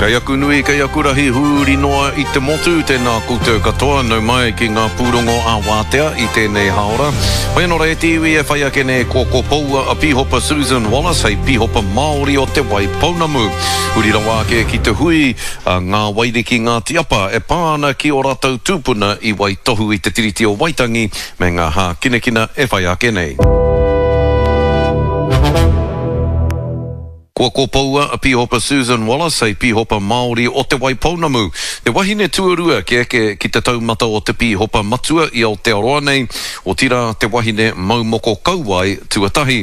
Kei aku nui, kei aku rahi huri noa i te motu, tēnā koutou katoa, nau mai ki ngā pūrongo ā-wātea i tēnei hāora. Hoi anō rā e te iwi e whai ake nei ko Kopoua a Pīhopa Susan Wallace hei Pīhopa Māori o Te Wai Pounamu. Huri rawa ake ki te hui a Ngā Wairiki Ngāti Apa e pā ana ki ō rātou tūpuna i waitohu i te Tiriti o Waitangi me ngā hākinakina e whai ake nei. Kua kopoua a Pīhopa Susan Wallace hei Pīhopa Māori o Te Waipounamu, te wahine tuarua kia eke ki te taumata o te Pīhopa Matua i Aotearoa nei, otirā te wahine mau moko kauae tuatahi.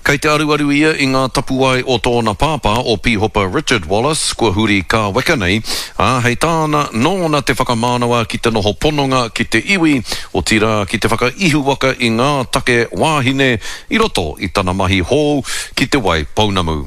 Kei te aruaru ia i ngā tapuwae o tōna pāpā o Pīhopa Richard Wallace kua huri kāweka nei, ā, hei tāna, nōna te whakamānawa ki te noho pononga ki te iwi, otirā ki te whakaihuwaka i ngā take wāhine i roto i tana mahi hou ki Te Wai Pounamu.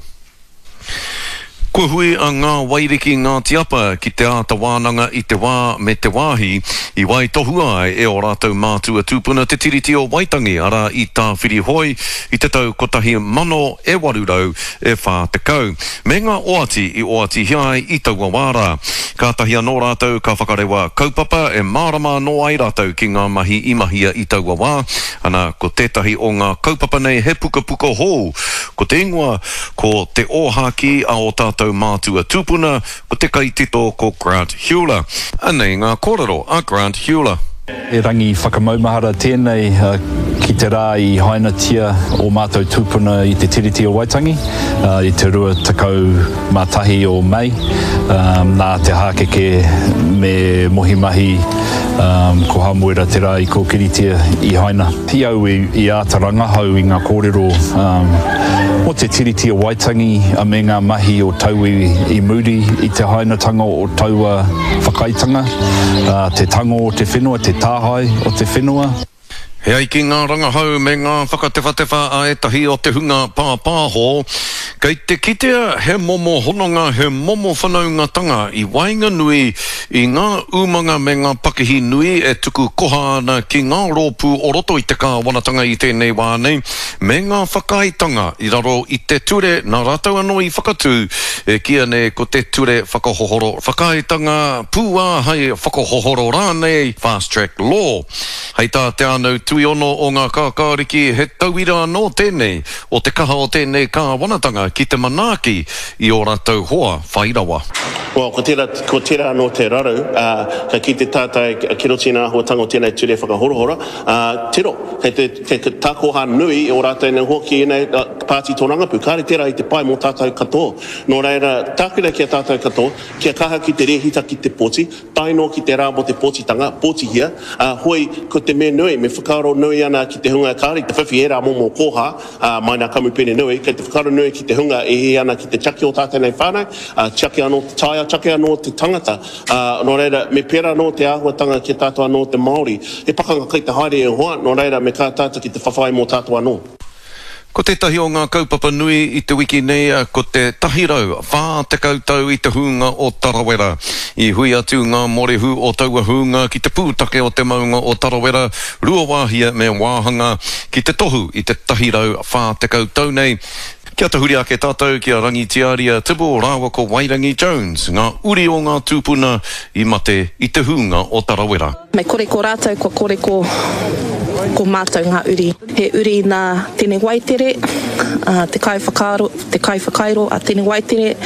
Kua hui a Ngā Wairiki Ngāti Apa ki te āta wānanga i te wā me te wāhi i waitohua ai e ō rātou mātua tūpuna te Tiriti o Waitangi, arā i Tāwhirihoi i te tau 1840, me ngā oati i oatihia ai i taua wā rā. Kātahi anō rātou ka whakarewa kaupapa e mārama anō ai rātou ki ngā mahi i mahia i taua wā, Ana, ko tētahi o ngā kaupapa nei he pukapuka hou, ko te ingoa ko Te Ōhākī a ō tātou mātua tūpuna, ko te kaitito ko Grant Heuler. Anei ngā kōrero a Grant Heuler. He rangi whakamaumahara tēnei ki te rā i hainatia ō mātou tūpuna i te Tiriti o Waitangi i te 21 o Mei, nā te hākeke me Mohi Mahi Ko Hamuera te rā i kōkiritia i haina. I au i āta rangahau i ngā kōrero mō te Tiriti o Waitangi me ngā mahi o tauiwi i muri i te hainatanga o taua whakaaetanga, te tango o te whenua, te tāhae o te whenua. E ai ki ngā rangahau me ngā whakatewhatewha a ētahi o te hunga pāpāho, kei te kitea he momo hononga, he momo whanaungatanga i waenganui i ngā umanga me ngā pakihi nui e tuku koha ana ki ngā rōpū o roto i te kāwanatanga i tēnei wā nei, me ngā whakaaetanga i raro i te ture nā rātou anō i whakatū, e kīia nei ko te Ture Whakahohoro Whakaaetanga Pūāhai Whakahohoro rānei, Fast Track Law. Hei tā Te Ānau Tuiono o Ngā Kākāriki, he tauira anō tēnei o te kaha o tēnei kāwanatanga ki te manaaki i ō rātou hoa whai rawa. Well, ko tērā, ko tērā anō te raru, ā, ka kite tātou ki roto i ngā āhuatanga o tēnei ture whakahorahora, ā, tiro, kei te, kei te takoha nui o rātou nei hoa ki ēnei pāti tōrangapū. Kāre tērā i te pai mō tātou katoa. Nō reira, tāku nei ki a tātou katoa, kia kaha ki te rēhita ki te pōti, Tae noa ki te rā mō te pōtitanga, pōtihia, ā, hoi, ko te mea nui, me whakaaro nui ana ki te hunga kāore i te whiwhi ērā momo kōhā, ā, mai nā kamupene nui, kei te whakaaro nui ki te hunga e hiahia ana ki te tiaki o tātou nei whānau, ā, tiaki anō te taiao, tiaki anō te tangata, ā, nō reira, me pērā anō te āhuatanga ki a tātou anō te Māori. He pakanga kai te haere e hoa, nō reira, me kaha tātou ki te whawhai mō tātou anō. Ko tētahi o ngā kaupapa nui i te wiki nei ko te 140 tau i te hūnga o Tarawera. I hui atu ngā morehu o taua hūnga ki te pūtake o te maunga o Tarawera, Ruawāhia me Wāhanga, ki te tohu i te 140 tau nei. Kia tahuri ake tātou ki a Rangitiaria Tibble rāua ko Wairangi Jones, ngā uri o ngā tūpuna i mate i te hūnga o Tarawera. Me kore ko rātou kua kore ko ko mātou ngā uri. He uri nā Tene Waitere, te kaiwhakaaro, te kaiwhakairo a Tene Waitere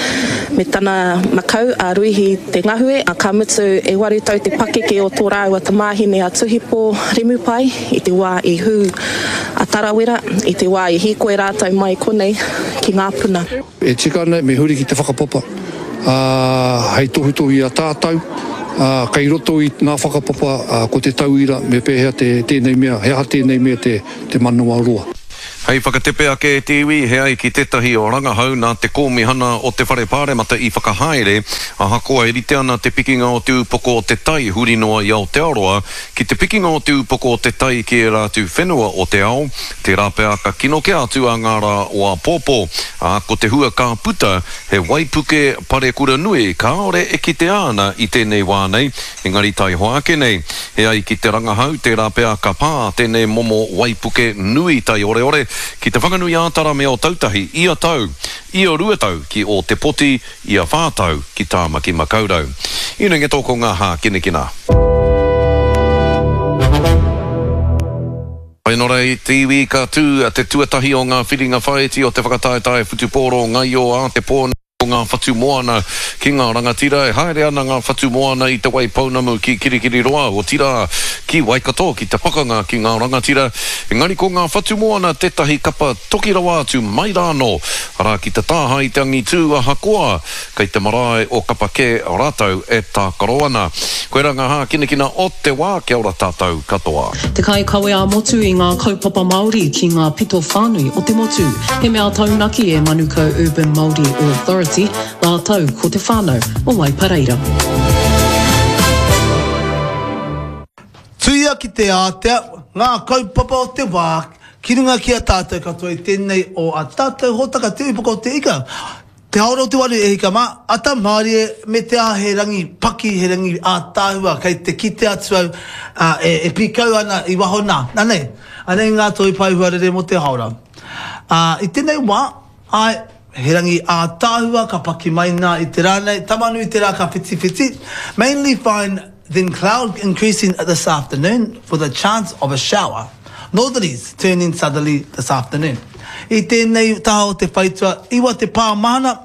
me tana makau a Ruihi Te Ngahue, ka mutu e waru tau te pakeke o tō rāua tamāhine a Tuhipo Remupai i te wā i hū a Tarawera, i te wā i hīkoi rātou mai konei ki Ngāpuna. E tika ana me huri ki te whakapapa, ā, hei tohutohu i a tātou, ā, kei roto i ngā whakapapa, ā, ko te tauira me pēhea te, tēnei mea, he aha tēnei mea te, te manawa roa. Hei whakatepe ake e te iwi, he ai ki tētahi rangahau nā te Kōmihana o te Whare Pāremata i whakahaere, ahakoa e rite ana te pikinga o te upoko o te tai huri noa i Aotearoa ki te pikinga o te upoko o te tai ki ērā atu whenua o te ao, Tērā pea ka kino kē atu a ngā rā o āpōpō, ā, ko te hua ka puta he waipuke parekura nui kāore e kitea ana i tēnei wā nei, engari taihoa ake nei. E ai ki te rangahau, tērā pea ka pā tēnei momo waipuke nui taioreore. ki Te Whanganui-ā-Tara me Ōtautahi ia tau, ia 2 tau ki Ōtepoti, ia whā tau ki Tāmaki Makaurau. Inengeto ko ngā hākinakina. Whainora i te iwi ka tū te tuatahi o ngā whiringa whāiti o te whakataetae whutupōro ngaio a te pō nei ko ngā whatu moana ki ngā rangatira. E haere ana ngā whatu moana i Te Waipounamu ki Kirikiriroa, otirā ki Waikato ki te pakanga ki ngā rangatira. Engari ko ngā whatu moana tētahi kapa toki rawa atu mai rānō, arā ki te tāhae i te angitū ahakoa Kei te marae o Kapa kē rātou e tākaro ana. Koirā ngā hākinakina o te wā, kia ora tātou katoa. Te kaikawe ā-motu i ngā kaupapa Māori ki ngā pito whānui o te motu. He mea taunaki e Manukau Urban Māori Authority rātou ko te whānau o Waipareira. Tuia ki te ātea ngā kaupapa o te wā ki runga ki a tātou katoa i tēnei o a tātou hōtaka Te Upoko o Te Ika. Te haora o te waru e hika mā, ata mārie me te aha he rangi paki, he rangi ātaahua kei te kite atu au e, e pīkau ana i waho nā. Anei, anei ngā toi pae huarere mō te haora. Ā, i tēnei wā, āe, he rangi ātaahua ka paki mai nā i te rā nei, Tamanui te rā ka whitiwhiti, mainly fine then cloud increasing this afternoon with a chance of a shower. Northerlies turning southerly this afternoon. I tēnei taha o te whaitua, iwa te pā mahana,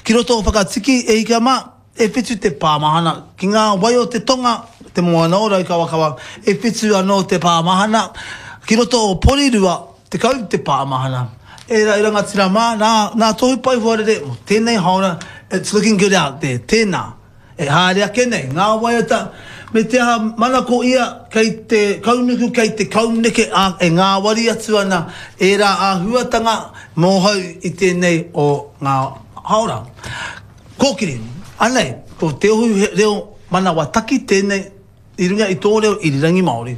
ki roto o Whakatiki, e hika mā, e whitu te pā mahana, ki ngā wai o te tonga, te moana o Raukawakawa, e whitu anō te pā mahana, ki roto o Porirua, 10 te pā mahana. E ra, e rangatira mā, nā, nā Tohu Pai Huarere mō tēnei haora, it's looking good out there, tēnā. E haere ake nei ngā waiata, me te aha manako ia kei te kaunuku, kei te kauneke, ā, e ngāwari atu ana ērā āhuatanga mōhou i tēnei o ngā haora. Kōkiri, anei, ko Te Ohu Reo Manawa Taki tēnei i runga i tō reo irirangi Māori.